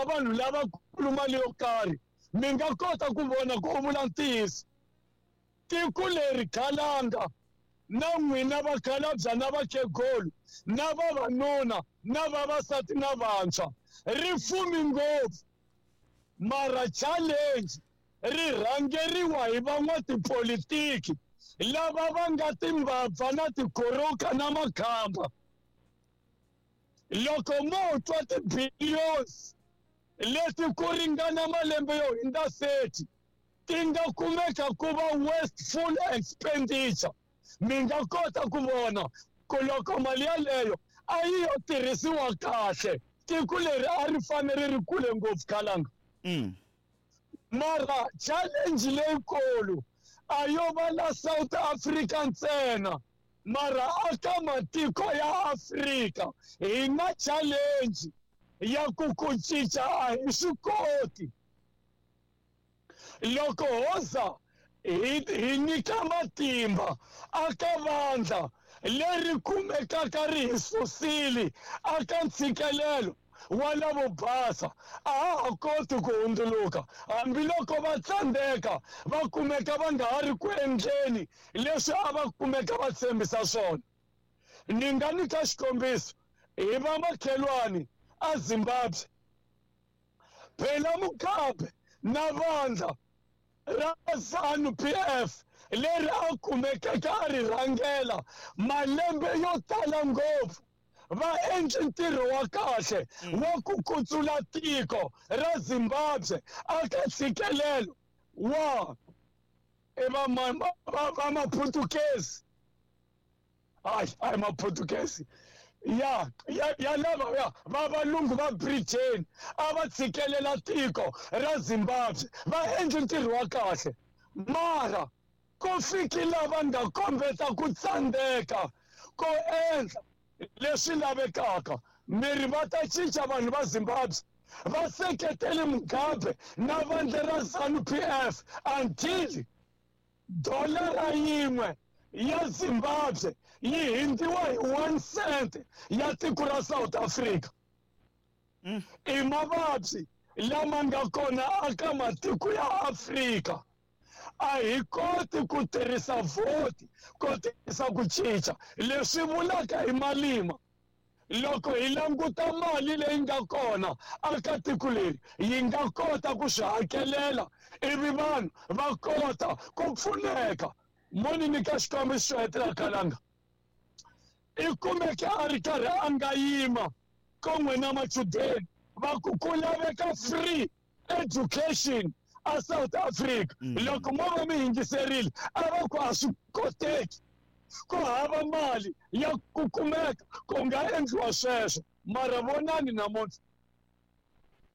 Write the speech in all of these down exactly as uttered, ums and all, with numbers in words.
vanhu lavakulu mali yo karhi, mi nga kota ku vona ku u vula ntiyiso. Tiko leri khalanga na n'wina vakhalabya na vakhegulu na vavanuna na vavasati na vantshwa ri fumi ngopfu, mara challenge ri rhangeriwa hi van'watipolitiki lava va nga timbabva na tikhoroka na makhamba. Loko mo twa ti-billions leti ku ringana malembe yo hundza thirty ti nga kumeka ku va wasteful expenditure, mi nga kota ku vona ku loko mali yaleyo a yi yo tirhisiwa kahle, tiko leri a ri fanele ri kule ngopfu khalanga. Mm. Mara challenge leyikulu a yo va la South Africa ntsena, mara aka matiko ya Afrika hi na challenge ya ku ku cinca a hi swi koti. Loko hoza hi hi nyika matimba aka vandla leri kumekaka ri hi susile aka ntshikelelo wa lavo basa, a ha ha koti ku hundzuluka hambiloko va tsandzeka va kumeka va nga ha ri ku endleni leswi a va kumeka va tshembisa swona. Ni nga nyika xikombiso hi va makhelwani a Zimbabwe. Phela Mugabe na vandla ra ZANU P F leri a kumekeke a ri rhangela malembe yo tala ngopfu, va endle ntirho wa kahle wa ku kutsula tiko ra Zimbabwe aka ntshikelelo wa i va va va Maputukezi. Hayi, hayi Maputukezi ya ya ya lava ya va valungu va Britain a va tshikelela tiko ra Zimbabwe, va endle ntirho wa kahle, mara ku fiki lava nga kombeta ku tsandzeka ku endla leswi lavekaka. Miri va ta cinca vanhu va Zimbabwe, va seketele Mugabe na vandla ra ZANU P F until dolara yin'we ya Zimbabwe yi hindziwa hi one cent ya tiko ra South Africa. Mm. I mavabyi lama nga kona aka matiko ya Afrika. A hi koti ku tirhisa vhoti ku tirhisa ku cinca leswi vulaka hi malima. Loko hi languta mali leyi nga kona aka tiko leri, yi nga kota ku swi hakelela ivi vanhu va kota ku pfuneka. Mo ni nyika xikombiso xo hetelela khalanga, i kumeke a ri karhi a nga yima kun'we na machudeni va ku ku laveka free education a South Africa. Mm. Loko mo va mi yingiserile a va ku a swi koteki, ku hava mali ya ku kumeka ku nga endliwa sweswo. Mara vonani namuntlha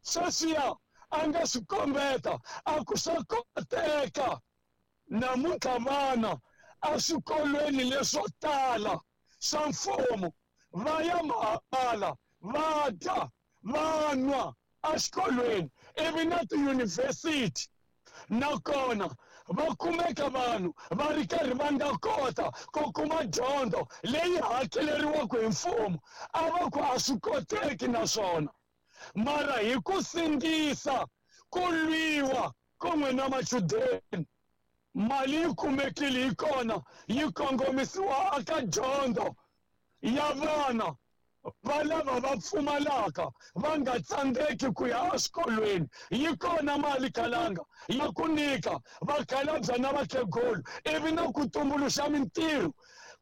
sweswiya a nga swi kombeta a ku swa koteka. Namuntlha vana eswikolweni leswo tala swa mfumo va ya mahala, va dya, va nwa exikolweni, ivi na tiyunivhesiti nakona va kumeka vanhu va ri karhi va nga kota ku kuma dyondzo leyi hakeleriwaka hi mfumo. A va ku a swi koteki naswona, mara hi ku sindzisa ku lwiwa kun'we na machudeni, mali yi kumekile yi kona yi kongomisiwa aka dyondzo ya vana va lava va pfumalaka va nga tsandzeki ku ya exikolweni. Yi kona mali khalanga ya ku nyika vakhalabya na vakhegulu ivi na ku tumbuluxa mintirho,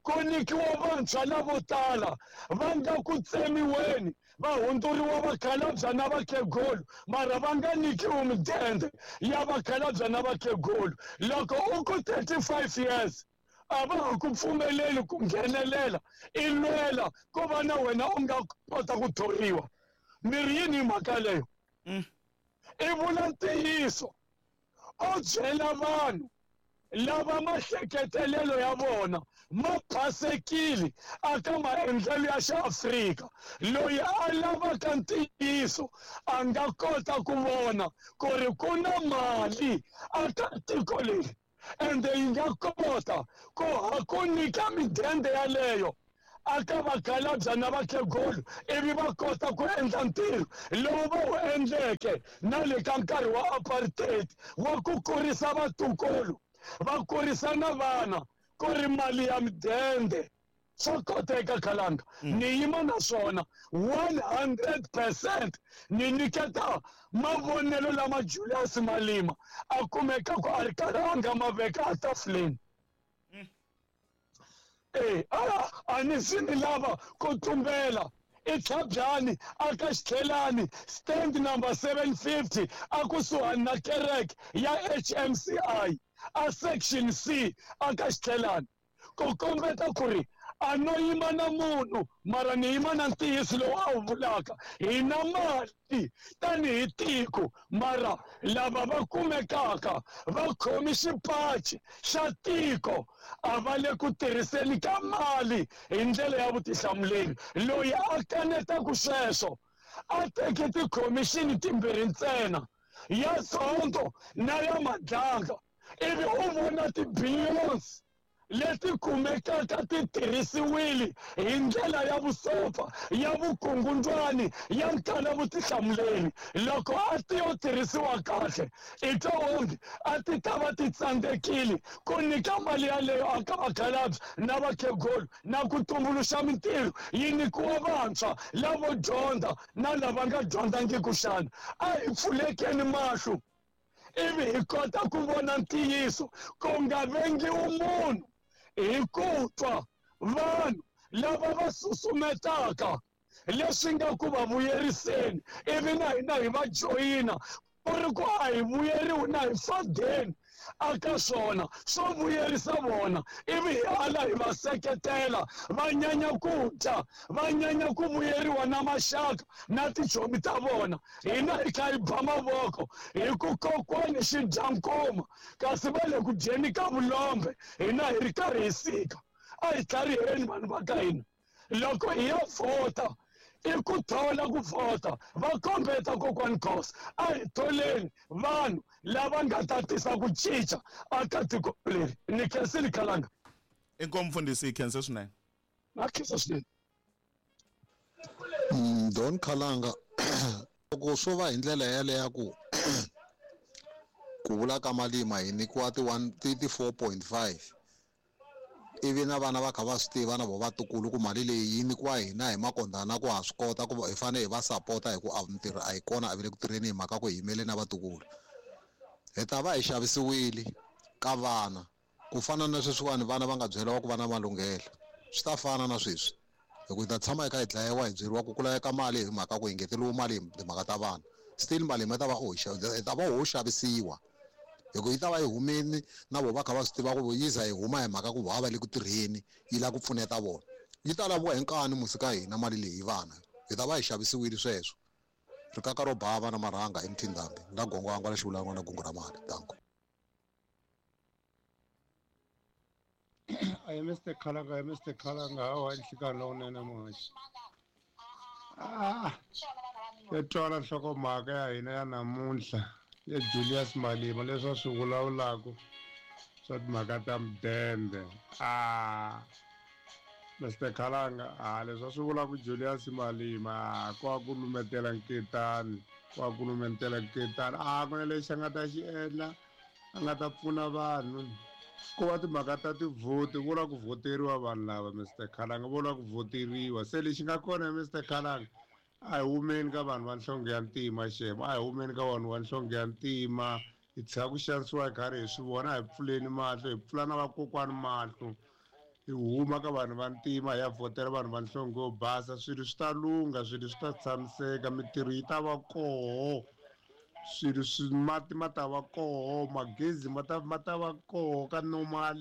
ku nyikiwa vantshwa lavo tala va nga ku tsemiweni va hundzuriwa vakhalabya na vakhegulu, mara va nga nyikiwi midende ya vakhalabya na vakhegulu. Loko u ku thirty-five years a va ha ku pfumeleli ku nghenelela, i lwela ku va na wena u nga kota ku thoriwa. Miri yini hi mhaka leyo? Mm. I vula ntiyiso, u byela vanhu lava mahleketelelo ya vona ma phasekile aka maendlelo ya xiAfrika. Loyi a lavaka ntiyiso a nga kota ku vona ku ri ku na mali aka tiko leri, ende yi nga kota ku ha ku nyika midende yaleyo aka vakhalabya na vakhegulu ivi va kota ku endla ntirho lowu va wu endleke na le ka nkarhi wa apartheid wa ku kurisa vatukulu va kurisa na vana ku ri mali ya midende. Swa koteka Khalanga, ni yima na swona one hundred percent. Ni nyiketa mavonelo lama Julius Malema a kumeka ku a ri karhi a nga ma veka etafuleni. Eh, a a ni swi ni lava ku tumbela i Tlhabyani aka Xitlhelani stand number seven fifty a kusuhani na kereke ya H M C I a section C aka Xitlhelani, ku kombeta ku ri a no yima na munhu mara ni yima na ntiyiso lowu a wu vulaka. Hi na mali tanihi tiko mara lava va kumekaka va khomi xipachi xa tiko a va le ku tirhiseni ka mali hi ndlela ya vutihlamuleri. Loyi a kanetaka sweswo a teke tikhomixini timbirhi ntsena, ya Zondo na ya Madlanga, ivi u vona ti-billions leti kumekaka ti tirhisiwile hi ndlela ya vusopfa, ya vukungundwani, ya nkala vutihlamuleri. Loko a ti yo tirhisiwa kahle i twa onge a ti ta va ti tsandzekile ku nyika mali yaleyo aka vakhalabye na vakhegulu na ku tumbuluxa mintirho yi nyikiwa vantshwa lavo dyondza na lava nga dyondzangiki xana. A hi pfulekeni mahlo ivi hi kota ku vona ntiyiso, ku nga vengiwi munhu hi ku twa vanhu lava va susumetaka leswi nga ku va vuyeriseni ivi na hina hi va joyina ku ri ku a hi vuyeriwi na hi fadeni aka swona swo vuyerisa vona, ivi hi ala hi va seketela va nyanya ku dya, va nyanya ku vuyeriwa na maxaka na tichomi ta vona. Hina hi kha hi ba mavoko hi ku kokwani xi dya nkuma kasi va le ku dyeni ka vulombe, hina hi ri karhi hi sika. A hi tlhariheni vanhu va ka hina, loko hi ya vhota i ku thola ku vhota va kombeta kokwani Khosa, a hi tholeni vanhu lava nga ta tisa ku cinca aka tiko leri. Ni khensile Khalanga. Inkomu mfundhisi, hi khensa swinene. Na khensa swinene. Don Khalanga, loko swo va hi ndlela yaleyo ku ku vula ka Malima hi nyikiwa ti one ti four point five ivi na vana va kha va swi tiva na vo vatukulu ku mali leyi yi nyikiwa hina hi makondana ku ha swi kota ku hi fanele hi va sapota hi ku a mintirho a yi kona a va le ku tirheni hi mhaka ku hi yimele na vatukulu. Hi ta va hi xavisiwile ka vana ku fana na sweswiwani vana va nga byeriwa ku va na malunghelo, swi ta fana na sweswi hi ku hi ta tshama hi kha hi dlayiwa hi byeriwa ku ku laveka mali hi mhaka ku hi ngeteriwe mali hi timhaka ta vana. Still mali hi ta va hi ta va ho xavisiwa hi ku yi ta va yi humile na vo va kha va swi tiva ku yi za yi huma hi mhaka ku va va le ku tirheni yi lava ku pfuneta vona. Yi ta laviwa hi nkani musi ka hina mali leyi vana hi ta va hi xavisiwile sweswo. Rikaka ro bava na marhanga emthindambi na gongo la xivulangwa na gungu ra mali. Danko. I Mister Khalanga, Mister Khalanga, hawa nhlikani lowunene muhaxi. Ah, ya twala nhlokomhaka ya hina ya namuntlha ya Julius Malema leswi a swi vulavulaka swa timhaka ta mudende. Ah, Mister Khalanga, ah, leswi a swi vulaka Julius Malema ko a ku lumetela nketani, ko a ku lumetela nketani. Ah, ku na lexi a nga ta xi endla, a nga ta pfuna vanhu. Ku va timhaka ta tivhoti, vo lava ku vhoteriwa vanhu lava Mister Khalanga, vo lava ku vhoteriwa. Se lexi nga kona Mister Khalanga, a hi humeni ka vanhu va nhlonge ya ntima xemo, a hi humeni ka vanhu va nhlonge ya ntima, hi tshika ku xanisiwa hi karhi hi swi vona, a hi pfuleni mahlo, hi pfula na vakokwani mahlo, hi huma ka vanhu va ntima hi ya vhotela vanhu va nhlonge yo basa. Swilo swi ta lungha, swilo swi ta tshamiseka, mintirho yi ta va koho, swilo swi mati ma ta va koho, magezi ma ta ma ta va koho ka normal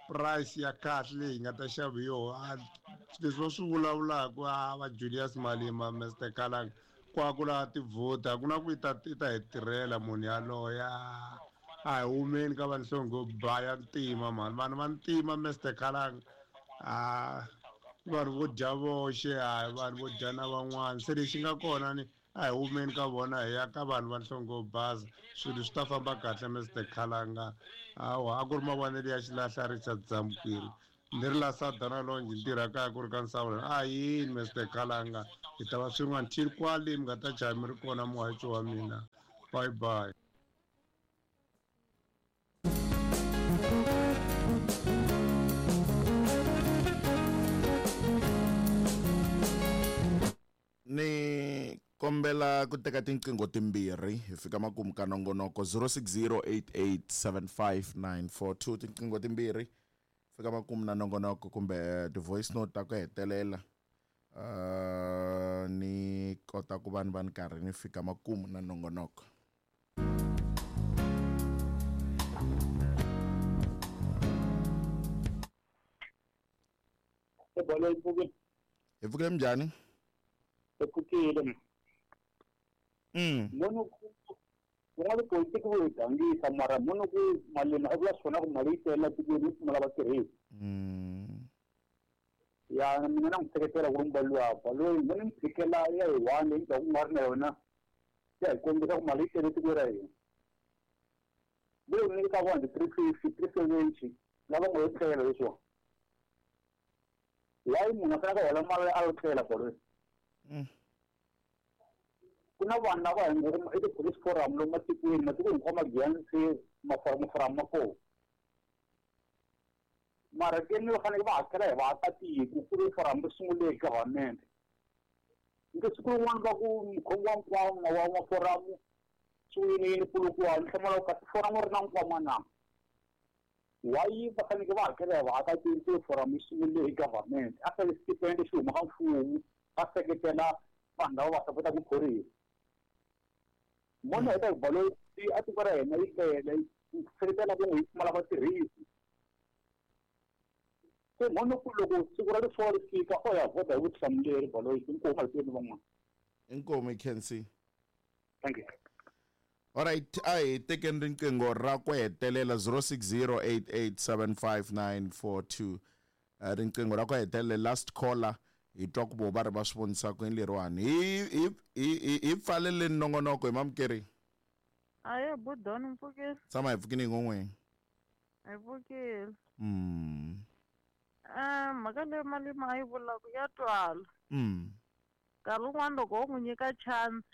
price ya kahle leyi hi nga ta xava hi yona. Leswi va swi vulavulaka a va Julius Malema, Mister Khalanga, ku a ku lava tivhoti, a ku na ku yi ta yi ta hi tirhela munhu yaloye. A hi humeni ka va nhlonge yo ba ya ntima mhani, vanhu va ntima Mister Khalanga, a vanhu vo dya voxe, a hi vanhu vo dya na van'wana. Se lexi nga kona ni a hi humeni ka vona hi ya ka vanhu va nhlonge yo basa, swilo swi ta famba kahle Mister Khalanga. Hawa a ku ri mavonelo ya xilahla Richard Zamukiri Ni ri la Sadana Longe ni tirha kaya ku ri ka Nsawula. A yini Mister Khalanga hi ta va swin'wana till kwale mi nga ta jaya mi ri kona muhaxi wa mina. Bye bye. Ni kombela ku teka tinqingho timbirhi hi fika makumu ka nongonoko zero six zero eight eight seven five nine four two tinqingho timbirhi fika makumu na nongonoko kumbe ti-voice note ta ku hetelela uh, ni kota ku va ni va ni karhi ni fika makumu na nongonoko. Hi pfukile minjhani? Hi pfukile. Mm. Munhu ku nga politiki vo hi gangisa mara munhu ku Malema a vula swona ku mali yi tele tikweni yi pfumala vatirhisi. Mm. Ya mina na n'wi seketela ku ri mubali wa loyi mina ni phikela ya hi one leyi ku nga ri na yona ya hi kombisa ku mali yi tele tikweni ra hina. Leyi ni ka one three fifty three seventy lava ngo yi tlela leswiwa. Why munhu a fanele a hola mali a yo tlela bolo? Mm. Ku na vanhu lava hi ngo i ti-police forum lomu matikweni matiko hinkwawo ma giyani se maforamu ma kona mara ke ni va fanele va hakela hi vaakatiko ku ri forum ri sungule hi government nke siku rin'wana va ku mukhomi wa nkwama wa maforamu swi yini yini Polokwane ni hlamula ku kasi foramu ri na nkwama na why va fanele va hakela hi vaakatiko ku ri forum yi sungule hi government a fanele stipend xi huma ka mfumo va seketela vanhu lava va sapota ku phorisa. Mona heta hi balo a tiko ra hina yi tele yi seketela ku yi pfumala vatirhisi. Se mona ku loko siku ra rifuwo ri fika o ya vhota hi vutihlamuleri balo yi inkomu hi tweni van'wana. Inkomu you can see. Thank you. All right, a hi tekeni riqingho ra ku hetelela zero six zero eight eight seven five nine four two riqingho ra ku hetelela last caller hi twa ku vo va ri va swi vonisa ku yini leriwani hi hi hi hi pfaleleni nongonoko hi mamukeri. Aye budoni mpfukile. Tshama hi pfukile hi ngon'weni. Hi pfukile. Mm. Eh mhaka leyi Malema a yi vulaka ya twala. Mm. Nkarhi wun'wani loko wo n'wi nyika chance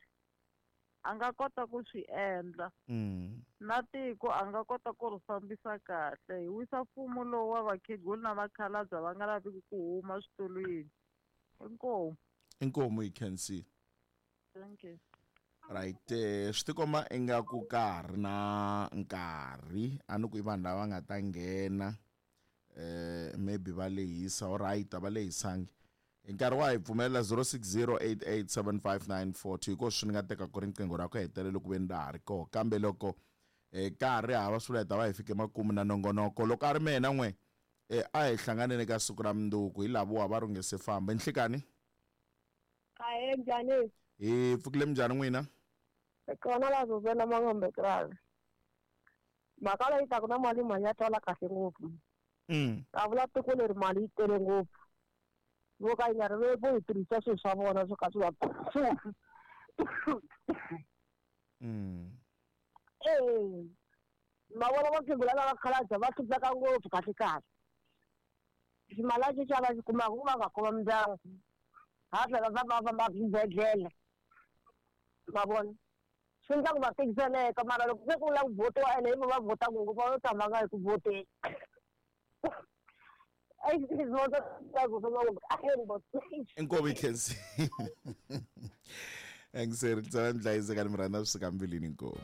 a nga kota ku swi endla. Mm. Na tiko a nga kota ku ri fambisa kahle hi wisa mfumo lowu wa vakhegula na vakhalabya va nga laviki ku huma switulwini. Inkomu. Inkomu you can see. Thank you. Right, eh swi tikomba ingaku ka ha ri na nkarhi a ni ku i vanhu lava nga ta nghena eh maybe va lehisa all right a va lehisangi hi nkarhi wa hi pfumelela zero six zero eight eight seven five nine four two hikuva swi ni nga teka ku ri riqingho ra ku hetelela ku ve ni ra ha ri koho kambe loko eh ka ha ri hava swi vula hi ta va hi fike makumu na nongonoko loko a ri mehe na n'we eh a hi hlanganeni ka siku ra mundzuku hi lavowa va ri nge se famba nhlikani. Ahe njhani? Hi pfukile minjhani n'wina? Kona la Zuzela Mangombe kraal. Mhaka leyi taka na mali mali ya twala kahle ngopfu. Mm. A vula tiko leri mali yi tele ngopfu. Vo ka yi nga ri vo hi tirhisa swilo swa vona swo ka swi va Mm. Eh. Ma vona vakhegula lava khalabya va hlupheka ngopfu kahle kahle. Ximali lexi va xi kumaka ku va nga khoma mindyangu. Ha tlhela va va famba swibedhlele. Ma vona? Swi endla ku va tikiseleka mara loko se ku lava ku vhotiwa ene hi vo va vhotaka ngopfu va yo tshama nga hi ku vhoteni. Inkomu you can see. Engiseri tsala ndlayisekani mi rhandza swi suka mbilwini inkomu.